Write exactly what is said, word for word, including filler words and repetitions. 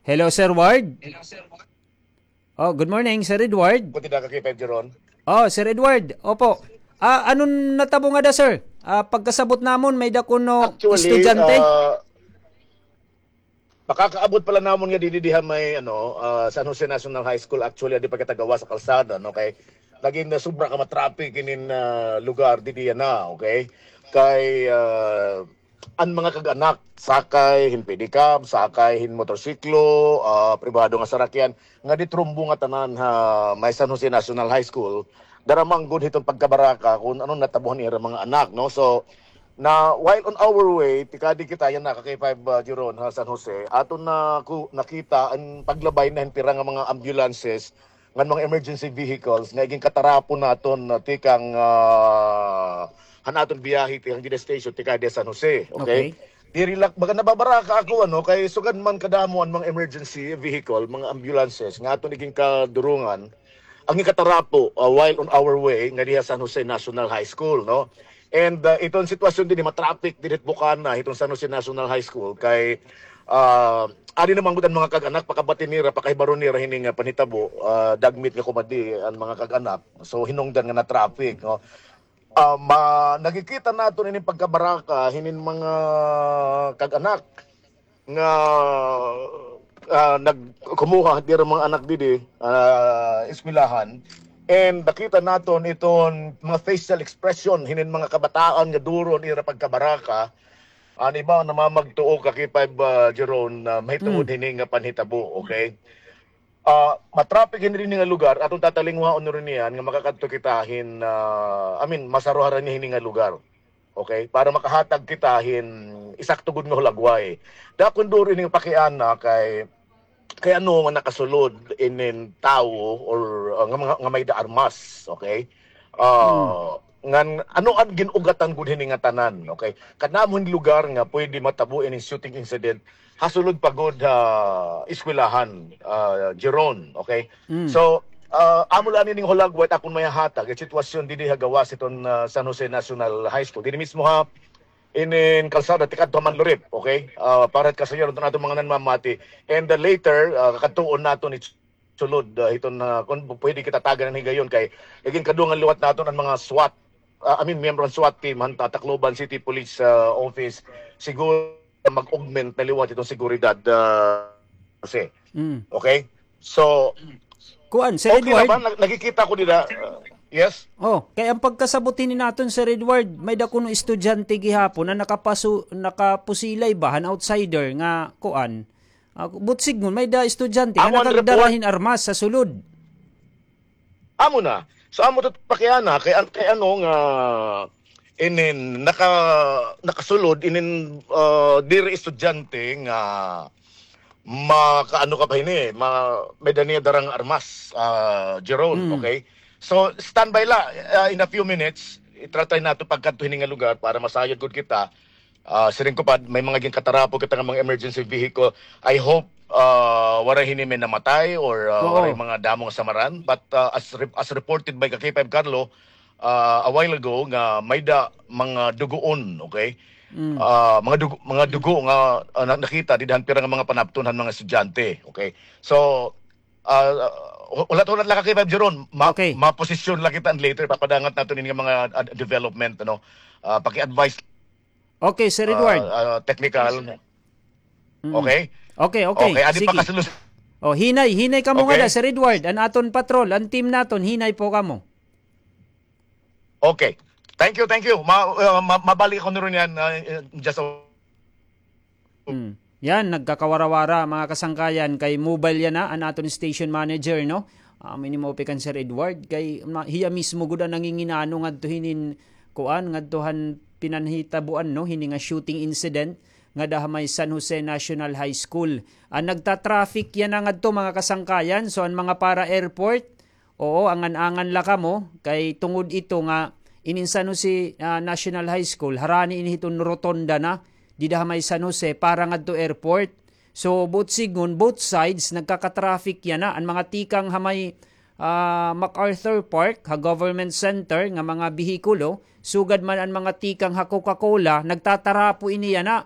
Hello, Sir Ward. Oh, good morning, Sir Edward. Buti na ka, K five Jeron. Oh, Sir Edward, opo. Ah, ano natabo ngada, sir? Ah, pagkasabot namon, may-ada kuno estudyante. Actually, ah, makakaabot pa la namon nga didi diha may, ano, ah, San Jose National High School. Actually, adi pa kita gawas ha kalsada, no? Kay nagin sobra ka ma-traffic inin, ah, lugar didi yana, okay? Kay, ah, an mga kag-anak, sakay hin pedicab, sakay hin motorsiklo, ah, pribado nga sarakyan, nga di trumbo ngatanan ha may San Jose National High School, dara man gud hiton pagkabaraka kun ano natabo han ira mga anak, no? So, na, while on our way, tikadi kita yana ka K five, ah, Jeron, ha San Jose, aton na ku-, nakita an paglabay na hin pira nga mga ambulances ngan mga emergency vehicles nga igin katarapo naton, ah, tikang, ah, han aton biyahe tikang dida station tikadi San Jose, okay? Okay. Diri la, baga nababaraka ako, ano, kay sugad man kadamo an mga emergency vehicle, mga ambulances nga aton igin kadurungan, ang igin katarapo, ah, while on our way nga diha San Jose National High School, no? And, ah, iton sitwasyon didi, ma-traffic didi ha bukana hiton San Jose National High School kay, ah, adi naman gud an mga kag-anak, pakabati nira, pakahibaro nira hini nga panhitabo, ah, dagmit nga kumadi an mga kag-anak. So, hinungdan nga na-traffic, no? Ah, ma-, nakikita naton ini pagkabaraka hinin mga kag-anak nga, ah, nagkumuha dira mga anak didi, ah, eskwelahan. And nakita naton iton mga facial expression hinin mga kabataan nga duro an ira pagkabaraka. An iba namamagtuo ka K five, ah, Jeron, na mahitungod hini nga panhitabo, okay? Ah, ma-traffic hini dinhi nga lugar, aton tatalingwaon niyan nga makakadto kita hin, ah, I mean, masaruharan niya hini nga lugar. Okay? Para makahatag kita hin isakto gud nga hulagway. Dakon duro ini nga pakiana kay, kay ano nga nakasulod inin tawo or, ah, nga mga, nga may-ada armas, okay? Ah, ngan ano an gin-ugatan gud hini nga tanan, okay? Kadamo hin lugar nga pwede matabo ining shooting incident, hasulod pa gud ha eskwelahan, ah, Jeron, okay? So, ah, amo la ini nga hulagway it akon mahihatag, it sitwasyon didi ha gawas hiton, ah, San Jose National High School. Didi mismo ha inin kalsada tikadto ha Manlurip, okay? Ah, para kasayod iton aton mga nanmamati. And, ah, later, ah, kakadtuon naton it sulod, ah, hiton, ah, kon pwede kita tagan hin higayon kay igin kadungan liwat naton an mga SWAT, ah, I mean, miyembro han SWAT team han Tacloban City Police, ah, Office. Siguro mag-augment na liwat iton seguridad, ah, kasi. Mm. Okay? So, kuan, Sir Edward. Okay na ba? Nag-, nakikita ko nila. Ah, yes? Oh, kay an pagkasabot hini naton, Sir Edward, may-ada kuno estudyante gihapon na nakapasu-, nakapusilay ba han outsider nga kuan. Ah, buot sidngon, may-ada estudyante nga nakagdara hin armas ha sulod. Amo na. So, amo to pakiana, kay an-, kay ano nga, inin, naka-, nakasulod, inin, ah, diri estudyante nga makaano ka pa hini, ma-, may-ada niya darang armas, ah, Jeron, okay? So, standby la, ah, in a few minutes, itratay nato pagkadto hini nga lugar para masayod gud kita. Ah, siring ko pa, may mga ginkatarapo kita nga mga emergency vehicle. I hope, ah, waray hini may namatay or, ah, waray mga damo nga samaran. But, ah, as re-, as reported by ka K five Carlo, ah, a while ago, nga may-ada mga dugoon, okay? Ah, mga dugo, mga dugo nga, ah, na-, nakita dida han pira nga mga panapton han mga estudyante, okay? So, ah, hulat-hulat la ka K five Jeron, ma-, maposisyon la kita and later papadangat naton ini nga mga, ah, development, ano? Ah, paki-advise. Okay, Sir Edward. Ah, ah, technical. Mm. Okay? Okay, okay. Okay, adi pa kasulus-. Oh, hinay, hinay kamo ngada, Sir Edward. An aton patrol, an team naton, hinay po kamo. Okay. Thank you, thank you. Ma-, ah, ma-, mabalik ako na rin yan, ah, just a Mm. Yan, nagkakawarawara, mga kasangkayan, kay mobile yana an aton station manager, no? Amo ini maupay kan Sir Edward, kay ma-, hiya mismo gud an nanginginano ngadto hinin kuan, ngadto han pinanhitabuan, no? Hini nga shooting incident ngada ha may San Jose National High School. An nagta-traffic yana ngadto, mga kasangkayan, so an mga para airport, oo, angan-angan la kamo, kay tungod ito nga inin San Jose, ah, National High School, harani ini hiton rotonda na, dida ha may San Jose, para ngadto airport. So, buot sidngon, both sides, nagkaka-traffic yana. An mga tikang ha may, ah, MacArthur Park, ha Government Center, nga mga behikulo, sugad man an mga tikang ha Coca-Cola, nagtatarapo ini yana.